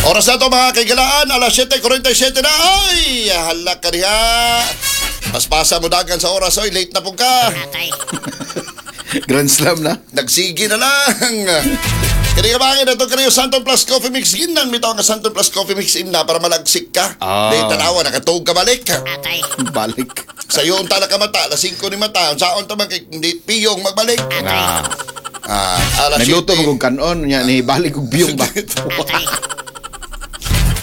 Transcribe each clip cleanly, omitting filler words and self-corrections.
Oras na to, mga kaigalaan, alas 7:47 na. Ay, hala ka diha. Paspasa mo dagan sa oras, oy, late na po ka. Atay. Grand Slam na. Nagsige na lang. Kini ka bakit ito kaniyo Santon Plus Coffee Mix ginang bitaw nga Santon Plus Coffee Mix imna para malagsik ka. Ah. Di tanawa nakatug ka balik. Atay. Balik. Sa iyo unta na ka mata, alas 5 ni mata, unsaon ta man kay hindi piyong magbalik. Ah. Ah, alas Nagluto 7. mo kong kanon nya ni balik og biyong ba. Atay.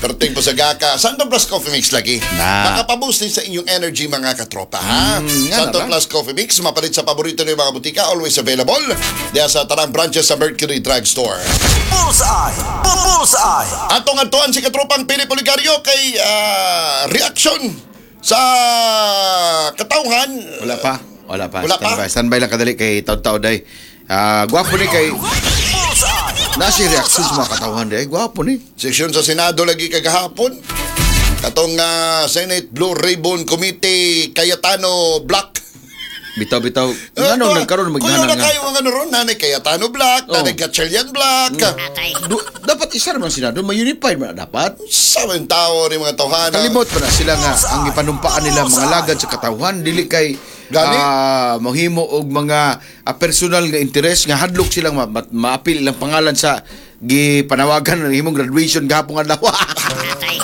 Perting po sa gaka. Santon Plus Coffee Mix lagi. Na. Makapaboost din sa inyong energy, mga katropa, ha? Nga Santon na ba? Plus Coffee Mix, mapalit sa paborito ng mga butika, always available diya sa tanang branches sa Mercury Drugstore. Bullseye! Bullseye! Atong atuan si katropang Pili Poligario kay reaction sa katawhan. Wala pa. Wala pa. Wala pa? Standby. Standby lang kadali kay taud-taud ay. Ah, gwapo ni kay Bullseye! nasi reaction sa mga katawhan day. Gwapo ni. Sesyon sa Senado lagi kagahapon. Katong Senate Blue Ribbon Committee Cayetano Black. Bitaw bitaw. Nganong nagkaroon Kuya maghanang na nga. kayo ang ano ron, nanay Cayetano Black, Oh. nanay Gatchalian Black. Atay. Dapat isa naman Senado, ma-unified man na dapat. Sa mga tao ni mga tawhana. Kalimot pa na sila nga ang ipanumpaan nila mga lagad sa katawhan dili kay Gani? Mohimo og mga personal nga interes nga hadlok silang maapil ilang pangalan sa gipanawagan ng himong graduation gahapon adlaw. Atay.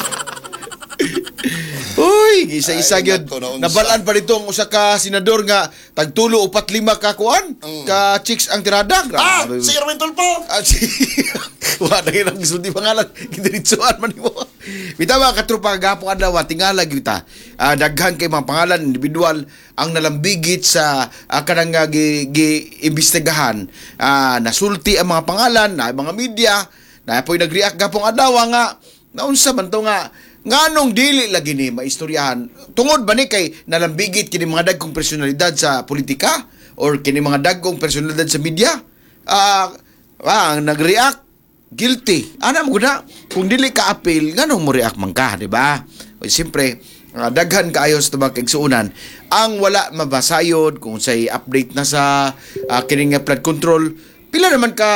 Uy, isa-isa Ay, gyud. nako, naunsa. Nabalaan pa dito ang usa ka senador nga tagtulo upat lima ka kuan ka chicks ang tirada. Ah, Grabe. si Erwin Tulfo. Ah, si Wa na yun ang gisulti pangalan. Gidiritsuan man nimo. Bitaw, mga katropa, gahapon adlaw tingala gyud ta. Ah, daghan kay mga pangalan individual ang nalambigit sa kanang gi imbestigahan. Ah, nasulti ang mga pangalan na mga media na po'y nag-react gahapon adlaw nga naunsa man to nga nganong dili lagi ni maistoryahan tungod ba ni kay nalambigit kini mga dagkong personalidad sa politika or kini mga dagkong personalidad sa media, ang nag-react guilty ana mo guna kung dili ka appeal nganong mo react man ka, di ba? O, siyempre, daghan kaayo sa tubag kaigsuonan ang wala mabasayod kung say update na sa kining nga flood control. Pila naman ka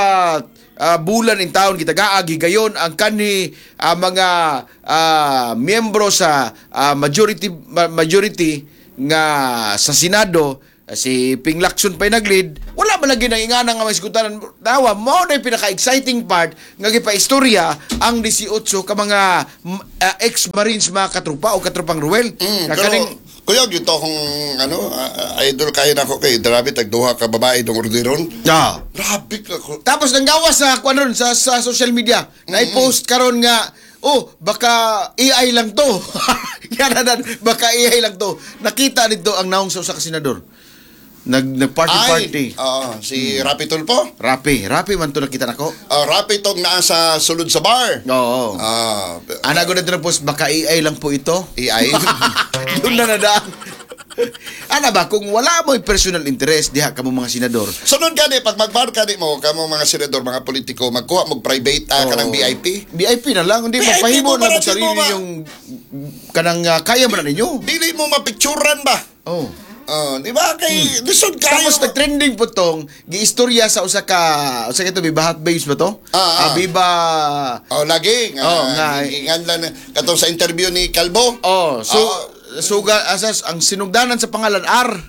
bulan in taon kita gaagi gayon ang kanhi mga miyembro sa majority nga sa Senado, si Ping Lacson pa'y nag-lead, wala man lagi nang ingana nga may sugutanan. Tawa mo na yung pinaka-exciting part nga gipaistorya ang 18 ka mga ex-Marines, mga katrupa o katropang Ruel. Nga Pero, kuya, yun to akong, ano, idol kayo na ako kay grabe, tagduha ka babae dong orderon. Grabe ka ko. Tapos nanggawas sa kuan ron sa social media. Na-post karon nga, "Oh, baka AI lang to." Yan na, baka AI lang to. Nakita nito ang naong sa usa ka senador. Nag party Ay, party. oo, si Rapi Tulfo. Rapi, Rapi man to nakita nako. Rapi tong naa sa sulod sa bar. Oo. Ana ko na post, "Baka AI lang po ito." AI. Doon na nadaan. Ana ba, kung wala mo personal interest diha kamo mga senador. Sunod gani pag magbar ka di mo kamo mga senador, mga politiko, magkuha mo private kanang VIP. VIP na lang, hindi VIP magpahimo mo na para mo di sarili mo yung kanang kaya mo na ninyo. Dili mo mapicturan ba? Oh. Oh, di ba kay lisod kayo. Tapos nag-trending po tong giistorya sa usa ka to Viva Hot Babes ba to? Ah. Viva. Oh, lagi nga. Oh, nga. Ngan lang katong sa interview ni Kalbo. Oh, so suga asas ang sinugdanan sa pangalan R.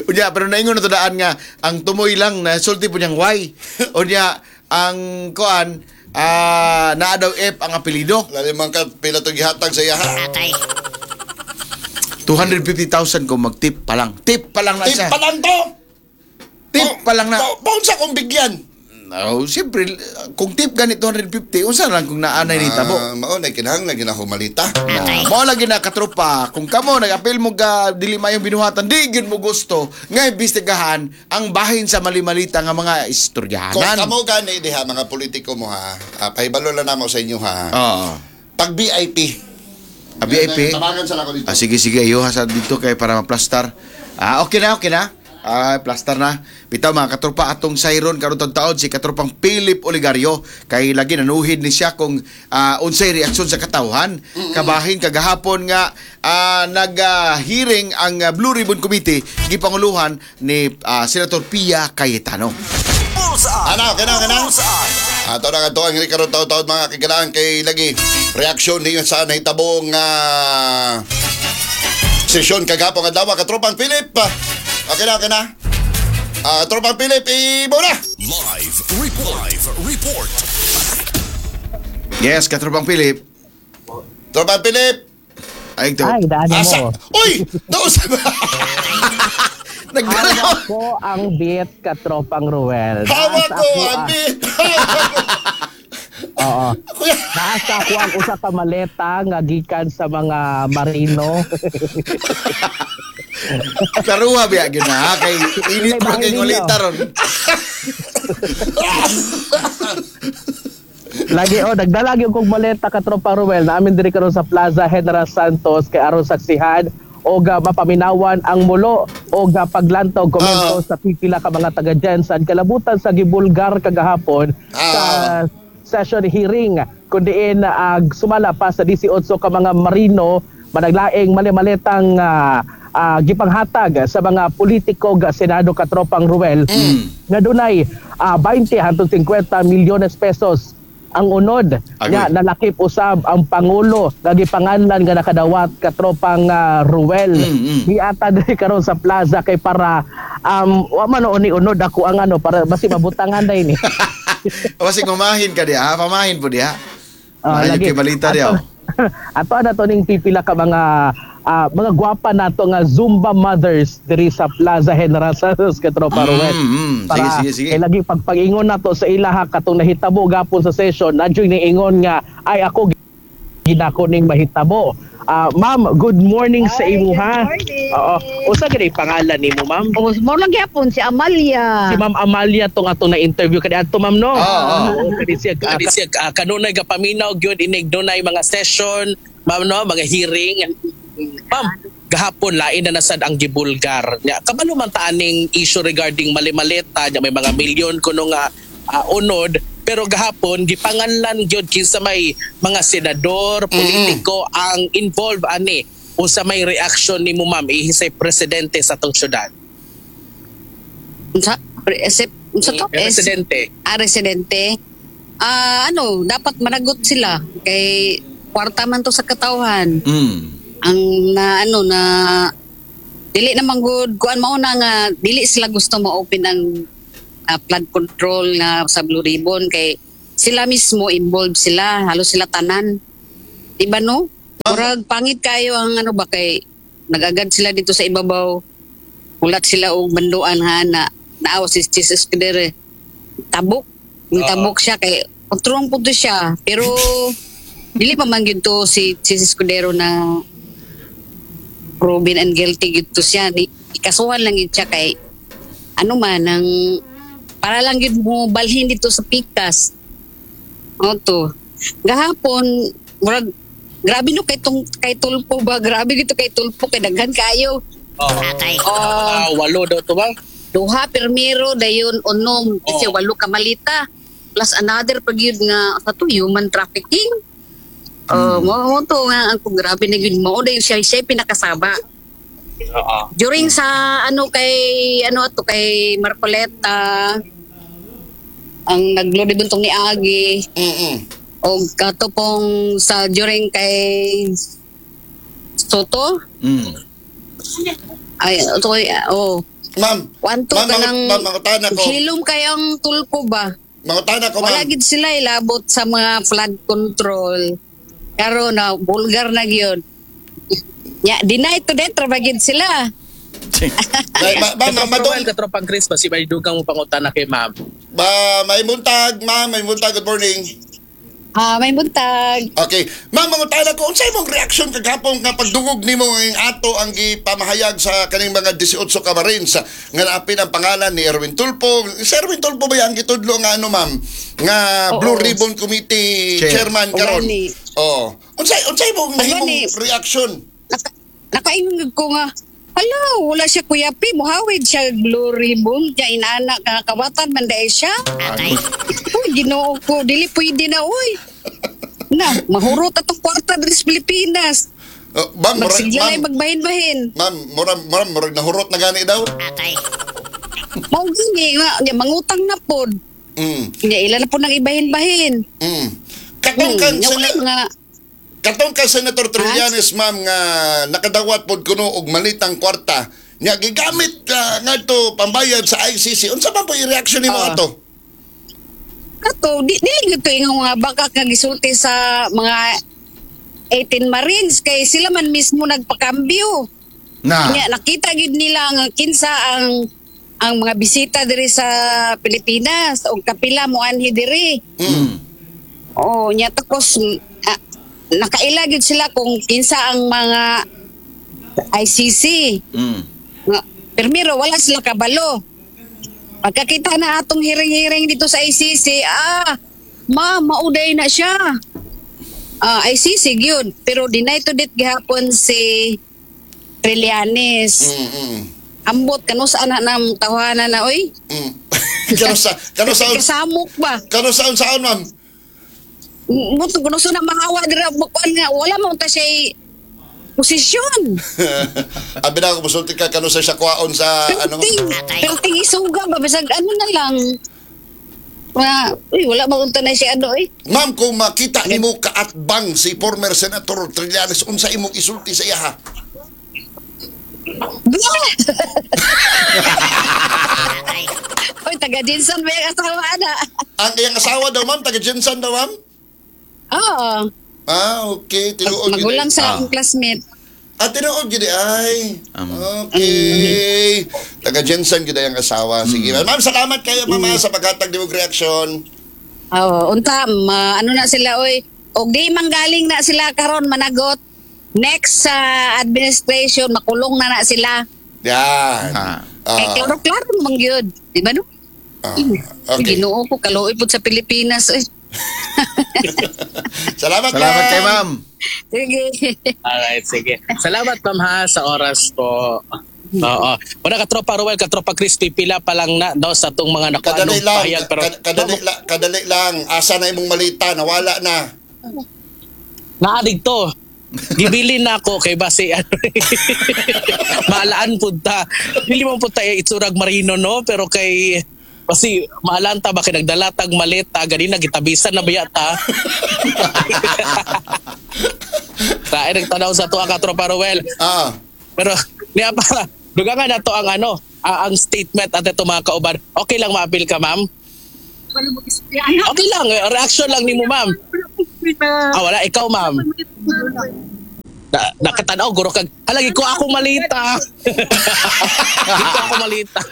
Unya, pero naingon na to daan nga ang tumoy lang na sulti po niyang Y. Unya ang kuan naa daw F ang apelyido. Lali man ka pila to gihatag sa iya. Atay. 250,000 kung mag-tip pa lang. Tip pa lang na Tip siya. pa lang to. Tip pa lang na. Paun sa kong bigyan. Oh, siyempre, kung tip gani 250, unsa lang kung naanay ni tabo. Ah, mao na kinahanglan ginahumalita. Atay. Mao lagi na, katropa, kung kamo nag-apil mo ka dili mayong binuhatan, di gyud mo gusto nga imbestigahan ang bahin sa mali-malita nga mga Kung istoryahanan. kamo gani diha mga politiko mo ha, pahibalo lang namo sa inyo ha. Oo. Pag VIP. Ah, VIP. Tabangan sa nako dito. Ah, sige, sige, ayuha sa dito kay para maplastar. Ah, okay na, okay na. Ah, plaster na. Bitaw, mga katropa, atong sayron karon taon si katropang Philip Oligario kay lagi nanuhid ni siya kung unsay reaksyon sa katawhan. Kabahin kagahapon nga nag-hearing ang Blue Ribbon Committee gipanguluhan ni Senator Pia Cayetano. Bullseye! Ano, okay na, okay na? Bullseye! Ato na nga ang karon taw-taw mga kagilaan kay lagi reaksyon niyo sa nahitabong sesyon kagapong adlaw, katropang Philip. Okay na, okay na. Tropang Philip, ibo na. Live report. Live report. Yes, katropang Philip. Tropang Philip. Ay, ito. Ay, daan Asa? mo. Uy! Doon sa Nagdala. Hawak ko ang beat, katropang Ruel. Hawak Naasa ko ako ang beat. Hawak ko. Oo. Kuya. Naasa ako ang usa ka maleta nga gikan sa mga marino. Klaruha biya gyud na ha kay init pa kay ngulita ron. Lagi oh, nagdala gyud kog maleta, katropang Ruel. Naamin diri karon sa Plaza General Santos kay aron saksihan og mapaminawan ang mulo og paglantaw komento sa pipila ka mga taga Jensan kalabutan sa gibulgar kagahapon sa session hearing kun diin sumala pa sa 18 ka mga marino managlaing mali-maletang gipanghatag sa mga politiko ga Senado, katropang Ruel, nga dunay 20 hangtod 50 milyones pesos ang unod. Agoy. Nya nalakip usab ang pangulo nga gipanganlan nga nakadawat, katropang Ruel. Giata diri karon sa plaza kay para wa man ni unod ako ang ano para basi mabutangan day ni. Basi ngumahin ka diha, ha? Pamahin po diha. Ah, Maayo lagi. kay balita diha. Oh. Ato na to ning pipila ka mga gwapa nato nga Zumba mothers diri sa Plaza General Santos, katropa Ruel. Sige, sige, sige. Kay lagi pagpag-ingon nato sa ilaha katong nahitabo gapon sa session, nadyoy niingon nga ay ako ginako ning mahitabo. Ma'am, good morning sa Ay, imuha. good morning. Oo. Usa gani pangalan nimo, ma'am? O, mo lang gyapon si Amalia. Si Ma'am Amalia tong atong na-interview kani adto, ma'am, no. Oo. Oo, kani siya kanunay gapaminaw gyud inig dunay mga session, ma'am, no, mga hearing. Ma'am, gahapon lain na nasad ang gibulgar. Nya kabalo man ta aning issue regarding mali-maleta, nya may mga milyon kuno nga unod, pero gahapon gipanganlan gyud kinsa may mga senador, politiko ang involved ani. Unsa may reaction nimo, ma'am, ihisay presidente sa atong syudad? Unsa unsa to? Presidente. Residente. Ano, dapat managot sila kay kwarta man to sa katawhan. Ang na ano na dili naman good kuan mao na nga dili sila gusto ma-open ang flood control nga sa Blue Ribbon kay sila mismo involved sila, halos sila tanan. Di ba no? Murag pangit kayo ang ano ba kay nagagad sila dito sa ibabaw. Hulat sila og banduan ha na naawa si Jesus Escudero. Tabok. Tabok siya kay kontrong po to siya pero dili pa man gyud to si Jesus Escudero na proven and guilty gyud to siya. Ikasuhan lang gyud siya kay ano man ang para lang gyud mo balhin dito sa pikas. O to. Gahapon murag grabe no kay tong kay Tulfo ba, grabe gito kay Tulfo kay daghan kayo. Oh. Oh, Walo daw to ba? Duha pirmiro dayon unom kasi walo ka malita plus another pag yun nga sa to human trafficking. Oh, mo to nga ang kung grabe na yun mo dayon siya siya pinakasaba. During sa ano kay ano ato kay Marcoleta ang naglo buntong ni Agi og kato pong sa during kay Soto ay to oh. Ma'am, One, two ma'am, ka ng ma'am, mangutana ko. Hilom kayong Tulfo ba? Mangutana ko, Wala ma'am. gid sila ilabot sa mga flood control. Karon na bulgar na gyud. Ya, deny to death ra ba gid sila. Ay, ma'am, ma'am, Katropang Ruel, katropang Chris, basi may dugang mo pangutana kay ma'am. Ma, may buntag, ma'am, may buntag. Good morning. May buntag. Okay. Ma'am, mangutana ko, unsay imong reaction kagapon nga pagdungog nimo ang ato ang gipamahayag sa kaning mga 18 ka Marines nga naapin ang pangalan ni Erwin Tulfo? Si Erwin Tulfo ba ang gitudlo nga ano, ma'am, nga Oo. Blue Ribbon Committee Chair. chairman karon? Gani. Oh. Unsay imong nahimong Gani. reaction? Nakaingog ko nga, hala, wala siya kuyapi, muhawid siya Blue Ribbon, niya inana ka kawatan man dahil siya. Uy, Ginoo ko, dili pwede na, uy. Na, mahurot atong kwarta diri sa Pilipinas. Oh, ma'am, Magsigla ma'am, na magbahin-bahin. ma'am, mura, murag nahurot na gani daw. Mao gini nga, nya, mangutang na pod. Nya ila na po nang ibahin-bahin. Katong kang katong kang Senator Trillanes, ma'am, nga nakadawat pod kuno og malitang kwarta nya gigamit ngadto pambayad sa ICC. Unsa man po i-reaction nimo ato? Kato, di gyud to ingon nga baka nga gisulti sa mga 18 Marines kay sila man mismo nagpakambyo. Na. Nya nakita gyud nila nga kinsa ang mga bisita diri sa Pilipinas og kapila moanhi diri. Oh, nya tapos nakaila gyud sila kung kinsa ang mga ICC. Primero wala sila kabalo. Pagkakita na atong hearing-hearing dito sa ICC, mauday na siya. ICC gyud, pero deny to date gihapon si Trillanes. Ambot kanu sa anak ng tawanan na oy. Kano sa kasamok ba? Kano sa saan, ma'am? Muto kuno sa na mahawa dira bukan nga wala man ta siya posisyon. Abi na ako musulti ka kano sa siya kuwaon sa ano. Pero ting isuga ba bisag ano na lang. Uy, wala man unta na siya ano eh. Ma'am, kung makita nimo kaatbang si former Senator Trillanes, unsa imong isulti sa iya ha? Oy, taga Jinsan ba yung asawa na? Ang iyang asawa daw, ma'am, taga Jinsan daw, ma'am? Oo. Ah, okay. Tinuod. Magulang sa akong classmate. Ah, tinuod gid ay. Okay. Taga Jensen gid ang asawa. Sige. Ma'am, salamat kayo, mama, sa paghatag nimong reaction. Oo, unta ano na sila oy. Og di manggaling na sila karon managot. Next sa administration makulong na sila. Yan. Kay klaro-klaro man gyud, di ba no? Okay. Ginoo ko kaluoy pud sa Pilipinas oy. Salamat, Salamat kay ma'am. Sige. Alright, sige. Salamat ma'am ha sa oras po. Oo. Wala katropa Ruel, katropa Crispy, pila pa lang na daw sa atong mga Kadali nakuanong lang, pahayag pero kadali lang. Asa na imong malita, nawala na. Naadig to. Gibili na ako kay base ano. Maalaan pud ta. Dili man pud ta itsurag marino no, pero kay kasi maalaan ta ba kay nagdalatag maleta ganina gitabisan na biya ta. Tae nagtanaw sa tuwa katropa Ruel. Pero niya para dugangan na to ang ano, ang statement at ito mga kauban. Okay lang maapil ka, ma'am? Okay lang, reaction lang nimo, ma'am. Wala ikaw, ma'am. Nakatanaw guro kag halagi ko ako malita. Ko ako malita.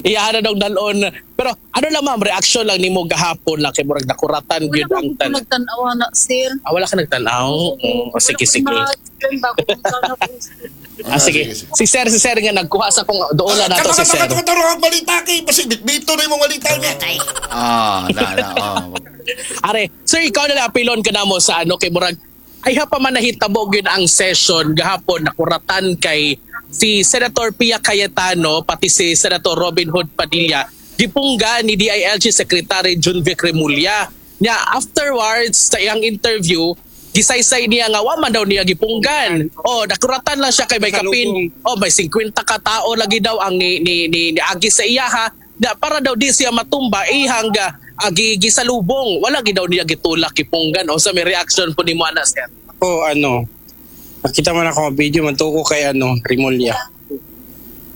Iyahan na dong dalon. Pero ano lang ma'am, reaction lang nimo gahapon lang kay murag nakuratan gyud ang Wala ko nagtan-aw na, sir. Wala ka nagtan-aw? Sige, sige. Sige. Si sir nga nagkuha sa kung doon na nato si sir. Kato balita kay basi bitbito na imong balita niya. Na. Are, sir, ikaw na apilon ka na mo sa ano kay murag ay ha pa man nahitabo gyud ang session gahapon nakuratan kay si Senator Pia Cayetano pati si Senator Robin Hood Padilla gipungga ni DILG Secretary Junvic Remulla. Nya afterwards sa iyang interview gisaysay niya nga wa man daw niya gipunggan. Oh, nakuratan lang siya kay may kapin. Oh, may 50 ka tao lagi daw ang ni agi sa iya ha. Na para daw di siya matumba ihang agi gisalubong. Wala gid daw niya gitulak gipunggan. O sa may reaction po nimo ana sir. Ako ano, nakita man ako ang video man tuko kay ano, Remulla.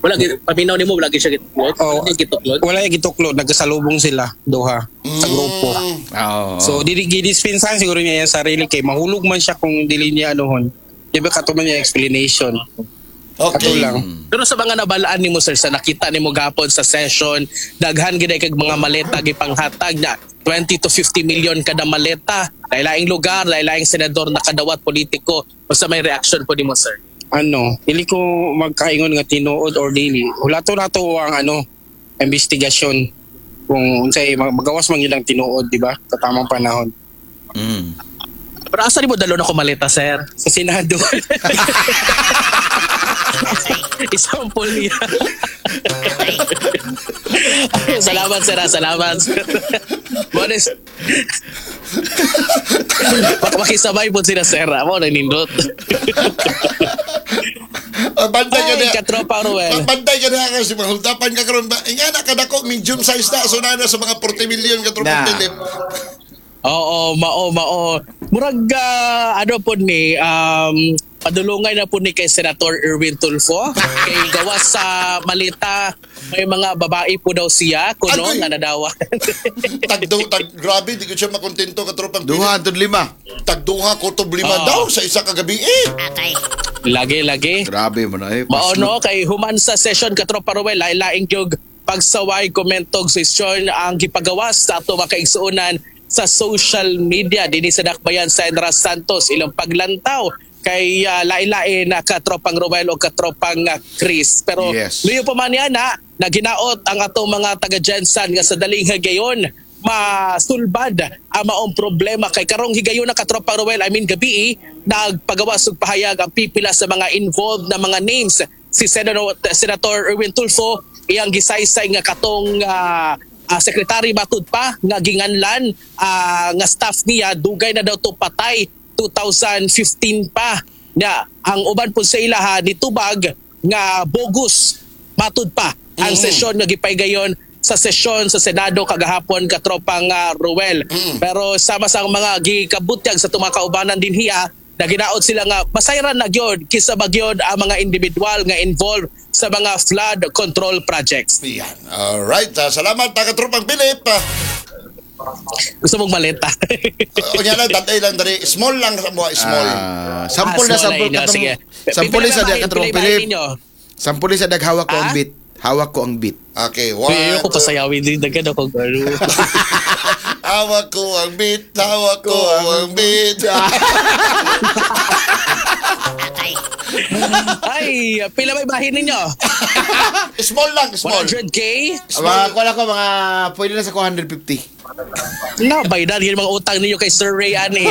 Wala gid paminaw nimo wala gid siya gituklod. Oh, wala gituklod. Wala gituklod, nagkasalubong sila duha sa grupo. Oh. So dili gidispensahan siguro niya yung sarili kay mahulog man siya kung dili niya anuhon. Di ba kato man niya explanation. Okay. Kato lang. Pero sa mga nabalaan nimo sir sa nakita nimo gapon sa session, daghan gid kag mga maleta gipanghatag na 20 to 50 million kada maleta. Lailaing lugar, lailaing senador nakadawat politiko. Basta may reaction po nimo sir. Ano, dili ko magkaingon nga tinuod or dili. Hulato nato ang ano, investigasyon kung unsay magawas man yun ang tinuod, di ba? Sa tamang panahon. Pero asa nimo dalon ako maleta sir? Sa Senado. Isampol niya. Salamat sir, salamat. Bonis. Makisabay po sila sir. Mo na nindot. Bantay ka Ay, na. katropa Ruel. Bantay ka na kasi mahuldapan ka karon ba. Nga na kadako medium size na so na na sa mga 40 million katropa Na. Philip. Oo, mao mao. Murag ano po ni padulungay na po ni kay Senator Erwin Tulfo kay gawas sa malita may mga babae po daw siya kuno Agoy. nga nadawa. Tagdo tag grabe di ko siya makontento katropang Philip. Duha antud lima. Tagduha kutob lima Oo. daw sa isa ka gabi eh. Lagi lagi. Grabe man ay. Mao no kay human sa session katropa Ruel lain-laing gyud pagsaway komentog session ang gipagawas sa ato mga kaigsuonan sa social media dinhi sa Dakbayan sa Enra Santos ilang paglantaw kay lain-lain na katropang Ruel o katropang Chris pero luyo pa man yan na naginaot ang atong mga taga Jensan nga sa daling higayon masulbad ang maong problema kay karong higayon na katropa Ruel, I mean gabi nagpagawas og pahayag ang pipila sa mga involved na mga names si Senator Erwin Tulfo iyang gisaysay nga katong secretary matud pa nga ginganlan nga staff niya dugay na daw to patay 2015 pa nya ang uban po sa ilaha nitubag nga bogus matud pa ang sesyon nga gipaygayon sa sesyon sa Senado kagahapon katropang Ruel. Pero sama sa mga gikabutyag sa itong mga kaubanan din hiya, naginaot sila nga masayran na gyud kisa ba gyud ang mga individual nga involved sa mga flood control projects. Yan. Alright, salamat katropang Philip. Gusto mong maleta? Unya lang tatay lang dali. Small lang sa mga small. Sampol na Small sampol na inyo. katong. Sige. Sampol Pipila sa na diya katong bahin, pila Philip. bahin ninyo. Sampol sa dag hawak ko ang Ah? beat. Hawak ko ang beat. Okay, one. Uy, ko two. pasayawin din daghan ako garo. Hawak ko ang beat, hawak ko ang beat. Ay, pila may bahin ninyo? Small lang, small. 100K? Mga kuha ko mga pwede na sa 250. No, by that, yun mga utang ninyo kay Sir Ray ani.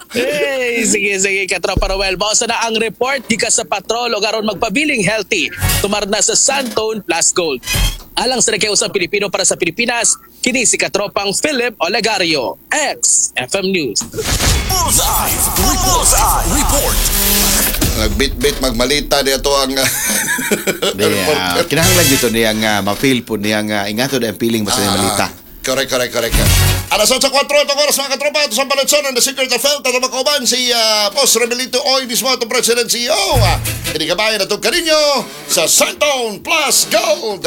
Hey, sige, sige, katropa Roel. Bausa na ang report, di ka sa patrol o karon magpabiling healthy. Tumarna sa Santone Plus Gold. Alang sa Usang Pilipino para sa Pilipinas, kini si katropang Philip Olegario, XFM News. Bullseye. Bullseye. Report. Nagbit-bit magmalita dito ang Niya, kinahanglan dito niya nga ma-feel po niya nga ingato na ang feeling basta niya malita. Correct, correct, correct. Alas 8:04 itong oras mga katropa. Ito sa Balatson and the Secret of Health. At makauban si Boss Remelito Oy mismo itong President CEO. Hindi kabayan na itong kaninyo sa Santone Plus Gold.